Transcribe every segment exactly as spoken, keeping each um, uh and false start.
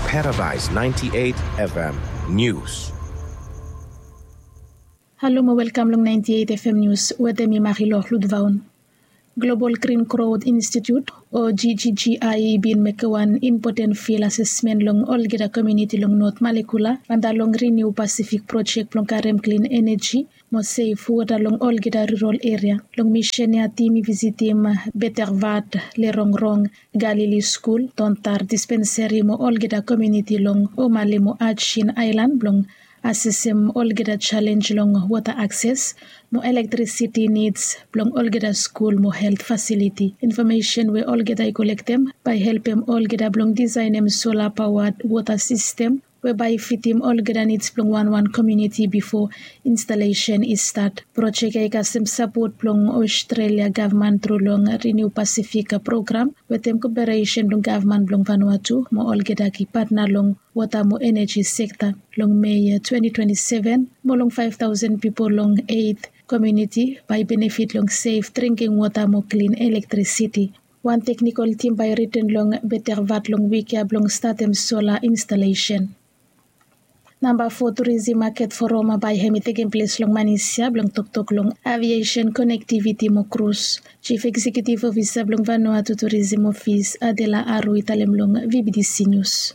Paradise ninety-eight F M News. Halo mo welkam long ninety-eight F M News wetem mi Marilor Ludvaun. Global Green Growth Institute o G G G I bin mekem wan impoten fil asesmen long olgeta komuniti long Not Malekula anda long Renew Pacific projek blong karem klin eneji mo sef wota long olgeta rural eria. Long misen ya tim i visitim Betervat, Lerongrong, Galili skul, Tontar dispenseri mo olgeta komuniti long Omale mo Ajin aelan blong asesem olgeta jalenj long wota akses mo elektrisiti nids blong olgeta skul mo helt fasiliti. Infomesen we olgeta i kolektem bae i helpem olgeta blong disaenem sola paoa wota sistem we bae i fitim olgeta nids blong wanwan komuniti bifo instalesen i stat. Projek ya i kasem sapot blong Australia gavman tru long Renew Pacific program wetem koperesen blong gavman blong Vanuatu mo olgeta ki patna long wota mo eneji sekta. Long Mei twenty twenty-seven mo long five thousand pipol long eit komuniti bae i benefit long sef dringking wota mo klin elektrisiti. Wan teknikol tim bae i riten long Betervat long wik ya blong statem sola instalesen. Namba fo turizim maket forum bae hem i tekem ples long Manis ya blong toktok long aviesen konektiviti mo krus. Jif Eksekiutiv Ofisa blong Vanuatu Turizim Ofis, Adela Aru, i talem long V B D C Nius.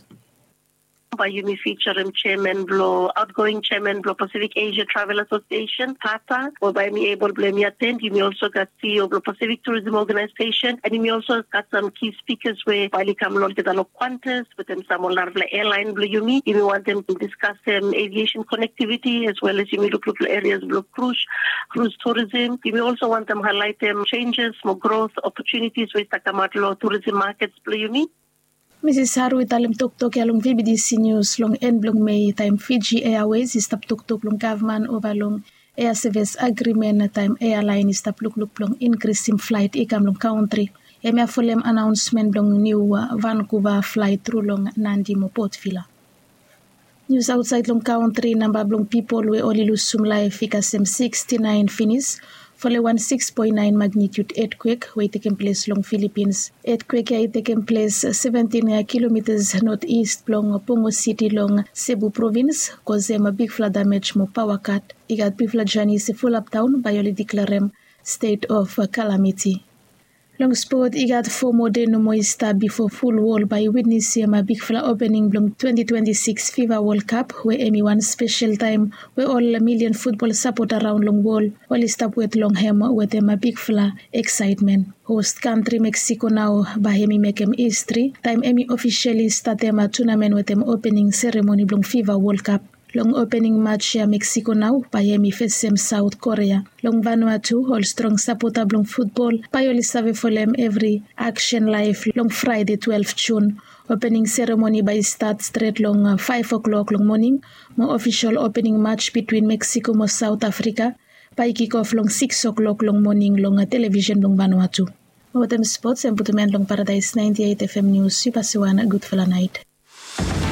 Bae yumi fijarem jeaman blong aotgoing jeaman blong Pasifik Esia Travel Asosiesen, pata, we bae hem i ebol blong hem i aten. Yumi olso gat C E O blong Pasifik Turizim Ogenaesesen, and yumi olso gat sam ki spikas we bae oli kam long olgeta long Qantas wetem sam ol narafala ealaen blong yumi. Yumi wantem diskasem aviesen konektiviti as well as yumi lukluk long erias blong krus, krus turizim. Yumi olso wantem haelaetem jenjes mo grot opotunitis we i stap kamaot long turizim makets blong yumi. Misis Haru i talem toktok ya long V B D C Nius long en blong Mei taem Fiji Airways i stap toktok long gavman ova long ea sevis agrimen taem ealaen i stap lukluk blong inkrisim flaet i kam long kantri. Hemia folem anaonsmen blong niu Vancouver flaet tru long Nadi mo Port Vila. Nius aotsaed long kantri, namba blong pipol we oli lusum laef i kasem siksti naen finis folem wan siks poen naen magnitiud etkwek we i tekem ples long Filipins. Etkwek ya i tekem ples seventin kilomitas notis blong Pongo Siti long Sebu provins, kosem bigfala damej mo paoa kat. I gat bigfala janis i fulapdaon bae oli diklarem stet of kalamiti. Long spot, i gat fo moa dei nomo i stap bifo ful wol bae i witnesem bigfala opening blong twenti twenti sikis FIFA Wol Kap, we hemi wan spesel taem we ol milian futbol sapota raon long wol oli stap wet long hem wetem bigfala eksaetmen. Host kantri Meksiko nao bae hemi mekem histri taem hemi ofisali statem tunamen wetem opening seremoni blong FIFA Wol Kap. Long opening maj ya Meksiko nao bae hemi fesem Saot Korea. Long Vanuatu, ol strong sapota blong futbol bae oli save folem evri aksen laef long Fraede twelef Jun. Opening seremoni bae i stat stret long faef oklok long moning mo ofisol opening maj bitwin Meksiko mo Saot Afrika bae i kikof long siks oklok long moning long televisen blong Vanuatu. Mo wetem spots, hemi putum en long Paradaes naenti eit FM Nius. Yu pasa wan gudfala naet.